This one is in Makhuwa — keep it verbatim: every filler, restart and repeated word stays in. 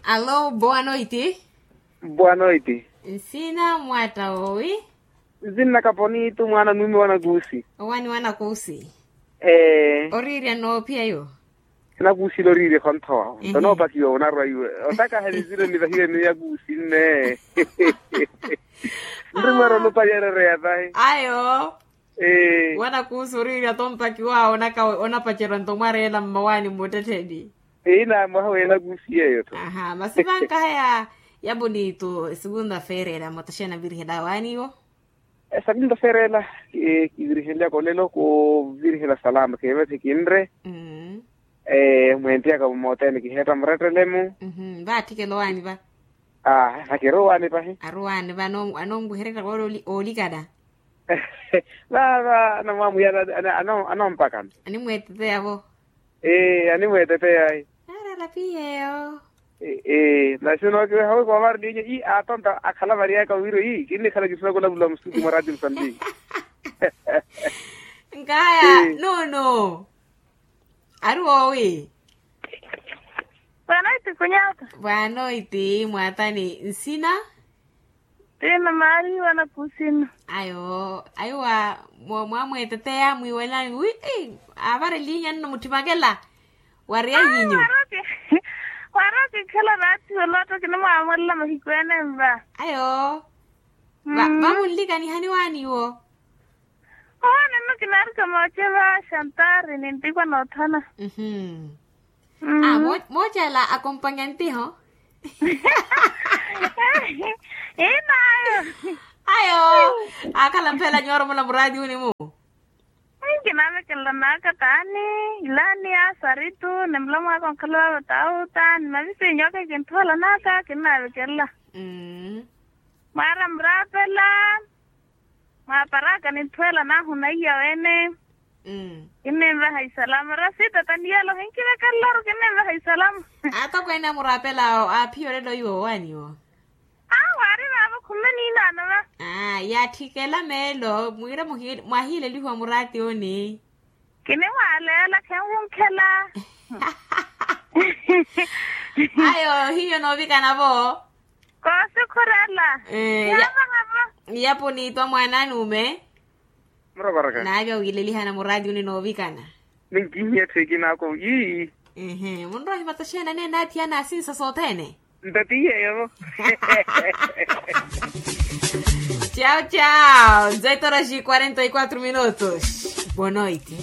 Alô, boa noite. Boa noite. Nsina mwatta woowi? Nsinna kaponitu mwaana nuume wa nakuusi. Owani wa nakuusi? Ee. Oriirya noophiya yo? Nakuusi loriirya khonthowa. Nto noopakiwa onarwa iwe otakaha nizire nivahiwe ni yakuusi nne. Nrumwera olopa yarereya tahi. Ayo. Wanakuusi oriirya tompakiwa onaka onapacerya nto mwareela mmawaani mmuttettheni. Eyi naamwaha wenakuusi yeeyo-tho. Aha masi vankahaya. Yaponitu esegunda feerela mwattaxena nvirihela waaniwo. Esegunda feerela. Kivirihenlyaka olelo kuvirihela salama keevethi kinre. Mweentiyaka mmootene kiheetta murettele-mu. Vaatthikela owaani va. Aa vakirowaani pahi. Arowaani va anonwehererya woolikana. Vaava anamwamuyala. Anompakana. Animweeteteya vo. Ee animweeteteya. Aarala piyeyo. Ee nasi onookiweha wi koomari ninyo ii atonta akhala variyaka wiro ii kinnikhala kisinakula vula musuku mwa rati musambiki. Nkaya nono. Ari woowi? Bwanoiti kunyaka. Bwanoiti mwatani nsina? Tina maari wanakuusina. Ayo aiwa. Mwamweteteya mwiiwelani wi avarelihinya nno mutthimakela. Wariya nyinyu? Wari okikhela vaatiwela otto kinimwaamolela mahiku ene nva. Ayo. Vamunlikanihani waaniwo? Owaani nno kinaarika mooce va xantari nintikwa noothana. Mooce ala akompanya ntiho. Inaayo. Ayo. Akhala mphela nyuwaromola muraatiwuni-mu. Nkinavekelela naaka taani ilaani ya saritu ni mulomo aka onkhala vava tauta ni mavisiinyu aka ekinthuwela naaka kinnavekelela. Mwaara muraapela. Mwaaparaka ninthuwela naahu naiya wene. Kinninvaha isalama rasita taniyelo kinkivekelelaru kinninvaha isalama. Atokweene amuraapelaawo aaphiya olelo iwo owaaniwo. Awo ari vaavo khume niinaano va. Yaatthikela meelo mwiira mwahiilelihiwa muraatiwuni. Kinimwaaleela khenwunkhela. Ayo hiyo noovikana vo. Koosikhurela. Yaponiitwa mwaana anuume. Naavya wiilelihana muraatiwuni noovikana. Ninkihiya etthu ekinaako ii. Munrohiva toxeena neene athiyana asinsa sothene. Nto ti yeeyo. Ciao ciao nzeitoraxi quarenta e quatro minutos. Boa noite.